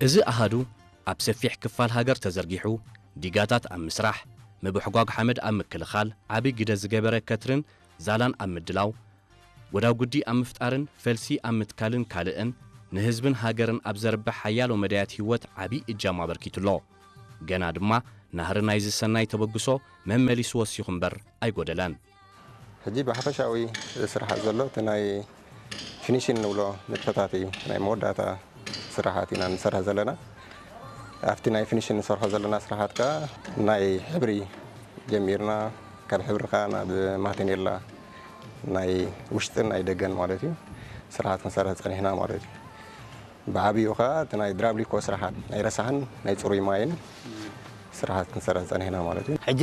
እዚ ኣሃዱ ኣብ ሰፊሕ ክፋል ሃገር ተዘርጊሑ፣ ዲጋታት ኣብ ምስራሕ፣ ምብሕጓግ ሓመድ ኣብ ምክልኻል ዓቢ ግደ ዝገበረ ከትርን ዛላን ኣብ ምድላው፣ ወዳጉዲ ኣብ ምፍጣርን ፈልሲ ኣብ ምትካልን ካልእን ንህዝብን ሃገርን ኣብ ዘርብሕ ሓያሎ መዳያት ህይወት ዓቢ እጃም ኣበርኪቱ ኣሎ። ገና ድማ ናህሪ ናይዚ ሰናይ ተበግሶ መመሊሱ ወሲኹ እምበር ኣይጎደለን። ሕጂ ብሓፈሻዊ ስራሓት ዘሎ እቲ ናይ ፊኒሽን ንብሎ ንጥፈታት እዩ። ናይ መወዳእታ ስራሓት ኢና ንሰርሕ ዘለና። ኣብቲ ናይ ፊኒሽን ንሰርሖ ዘለና ስራሓት ከዓ ናይ ሕብሪ ጀሚርና፣ ካብ ሕብሪ ከዓ ናብ ማቴኔላ ናይ ውሽጥን ናይ ደገን ማለት እዩ ስራሓት ክንሰርሕ ፀኒሕና ማለት እዩ። ብዓብዩ ከዓ እቲ ናይ ድራብሊኮ ስራሓት ናይ ረሳሕን ናይ ፅሩይ ማይን ስራሓት ክንሰርሕ ፀኒሕና ማለት እዩ። ሕጂ